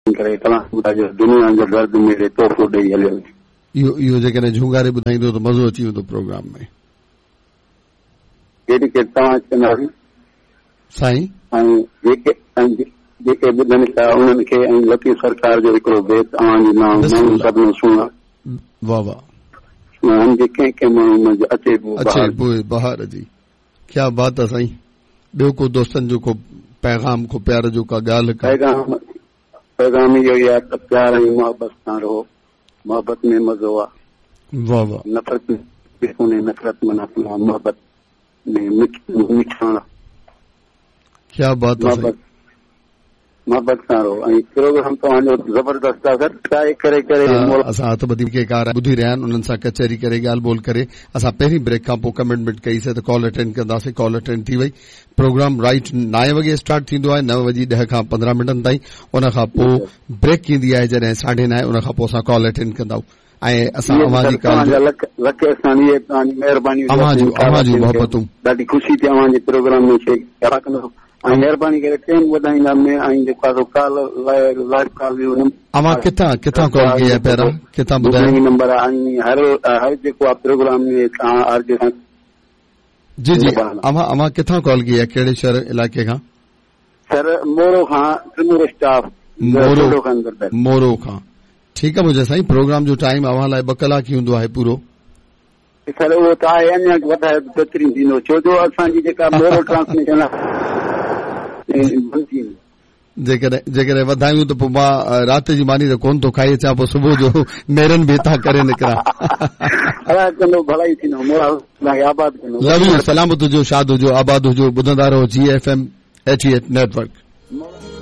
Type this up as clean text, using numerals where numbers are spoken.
ڪري ڪلام ٻڌائجو دنيا جو درد ميڙي تحفو ڏئي هليو وڃي. اهو اهو جيڪڏهن جهونگاري ٻڌائيندو ته مزو اچي ويندو پروگرام ۾. جيڪي ڪي توهان چونداسين. سائين. ۽ جيڪي ۽ جيڪي ٻڌن ٿا انهن کي ۽ لطيف سرڪار جو هڪڙو بيت اوهان جي نانء ماڻهو سڀني سهڻا. واه واه. سهڻا جي ڪنهن ڪنهن ماڻهو منجهه اچي بوء بهار اچي بوء بهار جي. ڪيا بات آ سائين ٻيو ڪو دوستن جو ڪو پيغام ڪو پيار جو ڪا ڳالهه ڪا. پيغام پيغام اهو ئي آ ته پيار ۽ محبت سان رهو محبت ۾ مزو آ. واه واه. نفرت ۾ ڪونهي نفرت معنيٰ محبت ۾ مٺاڻ آ. ڪيا بات آ سائين. محبت سان رهو ۽ پروگرام توهان جو زبردست آ سر ٽرائي ڪري ڪري اسان هٿ ٻڌي ڪي ڪار ٻڌي رهيا آهن انهن سان ڪچهري ڪري ڳالهه ٻولهه ڪري اسان پهرين بريڪ کان پوء ڪمٽمينٽ ڪئي سي ته ڪال اٽينڊ ڪنداسين ڪال اٽينڊ ٿي وئي پروگرام رائيٽ نائين وڳي اسٽارٽ ٿيندو آهي نو وڄي ڏهه کان پندرهن منٽن تائين ان کان پوء بريڪ ايندي آهي جڏهن ساڍي نائين ان کان پوء اسان ڪال اٽينڊ ڪندا آهيون ۽ اسان اوهان جي ڪال جو لک لک احسان اهي توهان جي مهرباني اوهان جون اوهان جون محبتون ڏاڍي خوشي ٿي اوهان جي پروگرام ۾ شيئر ڪندو ۽ مهرباني ڪري ٽيم وڌائيندا ۾ ۽ جيڪو آهي سو ڪال لائيو ڪال جو اوهان ڪٿان ڪٿان ڪال ڪئي آهي پيارا ڪٿان ٻڌايو نمبر آهي هر هر جيڪو آهي پروگرام ۾ توهان آر جي سان جي جي اوهان اوهان ڪٿان ڪال ڪئي آهي ڪهڙي شهر علائقي کان سر مورو کان ٽمور اسٽاف مورو مورو کان ٺيڪ آهي منهنجا سائين پروگرام جو ٽائيم اوهان لاء ٻه ڪلاڪ ئي هوندو آهي پورو سر اهو ته آهي اڃا وڌايو ته بهترين ٿيندو ڇو جو اسان جي جيڪا مورو ٽرانسميشن آهي بند ٿي ويندي. جيڪڏهن جيڪڏهن وڌايون ته پوء مان رات جي ماني ته ڪونه ٿو کائي اچان پوء صبح جو نيرن به هتان ڪري نڪران. الله ڪندو ڀلائي ٿيندو مولا توهان کي آباد ڪندو. لو يو سلامت هجو شاد هجو آباد هجو ٻڌندا رهو جي F M 88 network.